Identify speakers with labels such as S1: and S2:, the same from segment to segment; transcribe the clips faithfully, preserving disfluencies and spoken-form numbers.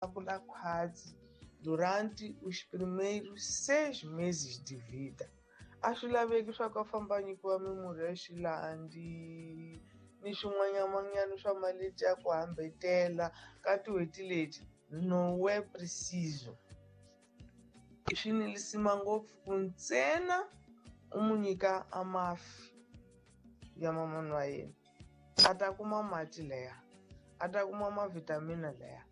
S1: Kula khwatsi durante os primeiros seis meses de vida. A swi laveki swa ku a famba a nyikiwa mimurhi ya xilandi ni swin'wanyaman'wanyana swa maleti ya ku hambetela ka tin'hweti leti, não é preciso. Swi ni lisima ngopfu ku ntsena u mu nyika a mafi ya mamani wa yena, a ta kuma mati laya, a ta kuma ma-vitamin laya,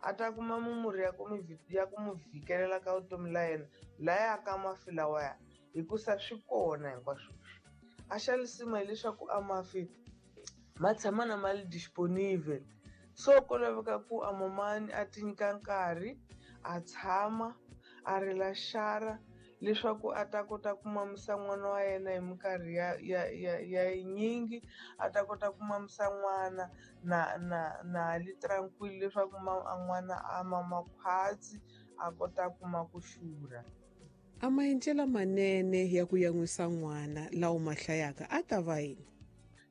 S1: a ta kuma mimurhi ya ku mi ya ku mu vhikelela ka vutomi la yena laya ka mafi lawaya, hikusa swi kona hinkwaswo leswi. A xa lisima hileswaku a mafi ma tshama na ma li disponible, so ko laveka ku a mamani a ti nyika nkarhi a tshama a rila xara leswaku a ta kota ku mamisa n'wana wa yena hi minkarhi ya ya ya ya yinyingi, a ta kota ku mamisa n'wana na na na li tranquilo leswaku a n'wana a mama khwatsi a kota kuma ku xurha.
S2: A maendlelo manene ya ku yan'wisa n'wana lawa ma hlayaka a ta va yini?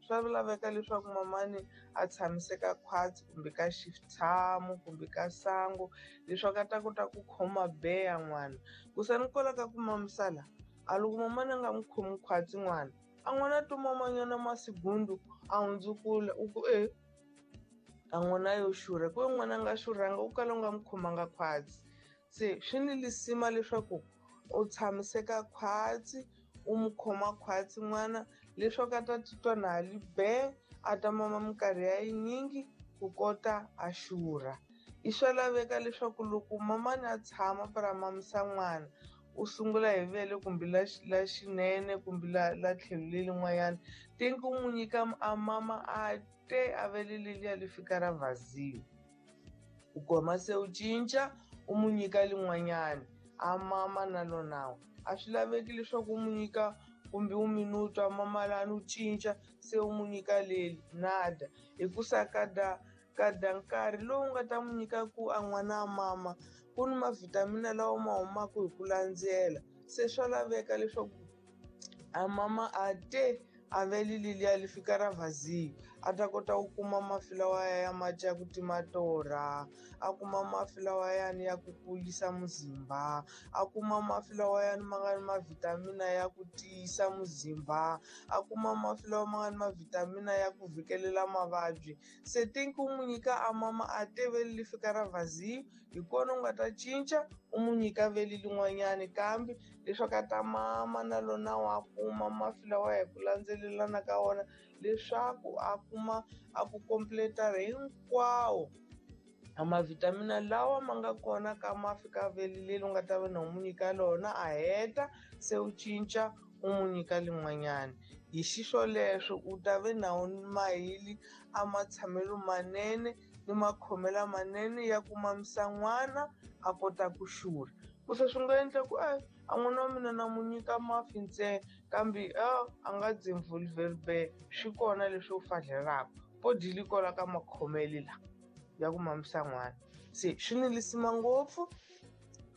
S1: Swa laveka leswaku mamani a tshamiseka khwatsi kumbe ka xitshamo kumbe ka sangu leswaku a ta kota ku khoma beya n'wana, ku sa ni kwala ka ku mamisa la a loko mamani a nga n'wi khomi khwatsi n'wana, a n'wana to mamanyana masigundu a hundzukula u ku e a n'wana yo xurha, ku ve n'wana a nga xurhanga u kala u nga n'wi khomanga khwatsi. Se swi ni lisima leswaku u tshamiseka khwatsi u n'wi khoma khwatsi n'wana leswaku a ta titwa na li be, a ta mama minkarhi ya yinyingi ku kota a xurha. I swa laveka leswaku loko mamani a tshama para mamisa n'wana, u sungula hi vele kumbe la la xinene kumbe la la tlhelo lelin'wanyana, think u n'wi nyika a mama a te a vele leliya li fika ra vazio, u goma se u cinca u n'wi nyika lin'wanyana a mama na lona. A swi laveki leswaku u n'wi nyika kumbe u minuto a mama lani u cinca se u n'wi nyika leli, nada, hikusa kada kada nkarhi lowu nga ta n'wi nyika ku a n'wana a mama ku ni ma-vitamin lawa ma humaka hi ku landzela, se swa laveka leswaku a mama a te a vele leliya li fika ra vazio, a ta kota ku kuma mafi lawaya ya mati ya ku tima torha, a kuma mafi lawayani ya ku kulisa muzimba, a kuma mafi lawayani ma nga ni ma-vitamin ya ku tiyisa muzimba, a kuma mafi lawa ma nga ni ma-vitamin ya ku vhikelela mavabyi. Se think u n'wi nyika a mama a te vele li fika ra vazio, hi kona u nga ta cinca u n'wi nyika vele lin'wanyani kambe leswaku a ta mama na lona wa kuma mafi lawa hi ku landzelelana ka wona leswaku a kuma a ku completa hinkwawo a ma-vitamin lawa ma nga kona ka mafi ka vele leri u nga ta va na u n'wi nyika lona, a heta se u cinca u n'wi nyika lin'wanyana. Hi xiswoleswo u ta ve na mahili a matshamelo manene ni makhomelo manene ya ku mamisa n'wana a kota ku xurha. Ku se swi nga endla ku e a n'wana wa mina na n'wi nyika mafi ntsena kambe a a nga be, swi kona leswi u fadlelaka po dili kwala ka makhomele la ya ku mamisa n'wana. Se swi ni lisima ngopfu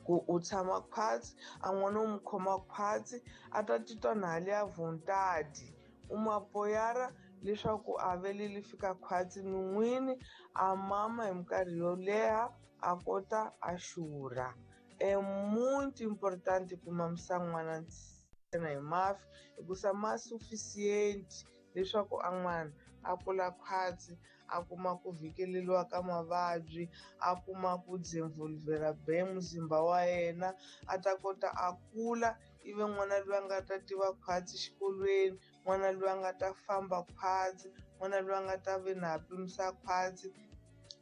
S1: ku u tshama khwatsi a n'wana u n'wi khoma khwatsi a ta titwa na hali ya vontade, u mu apoyara leswaku a vele li fika khwatsi non'wini, a mama hi minkarhi yo leha a kota a xurha. É muito importante ku mamisa n'wana ntsena hi mafi hikusa ma suficiente leswaku a n'wana a kula khwatsi, a kuma ku vhikeleliwa ka mavabyi, a kuma ku desenvolvera be muzimba wa yena, a ta kota a kula ivi n'wana loyi a nga ta tiva khwatsi xikolweni, n'wana loyi a nga ta famba khwatsi, n'wana loyi a nga ta ve na pimisa khwatsi.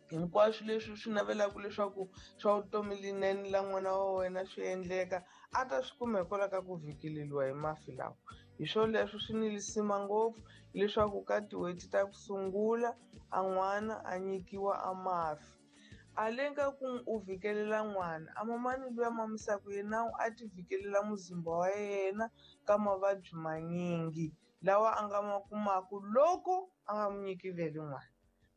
S1: Hinkwaswo leswi swi navelaka leswaku swa vutomi linene la n'wana wa wena swi endleka a ta swi kuma hikwalaho ka ku vhikeleliwa hi mafi lawa. Hi swoleswo swi ni lisima ngopfu leswaku ka tin'hweti ta ku sungula a n'wana a nyikiwa a mafi. A le ka ku u vhikelela n'wana, a mamani luya mamisaka yena a ti vhikelela muzimba wa yena ka mavabyi manyingi lawa a nga ma kumaka loko a nga n'wi nyiki vele n'wana.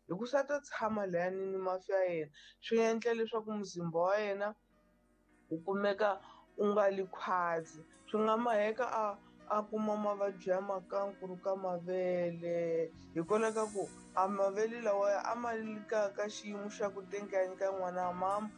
S1: Hikusa ta tshama layani ni mafi ya yena swi endla leswaku muzimba wa yena wu kumeka u nga li khwatsi, swi nga maheka a a kuma mavabyi ya makankulu ka mavele hikwalaho ka ku a mavele lawaya a ma li ka ka xiyimo xa ku tenga ya nyika n'wana mama.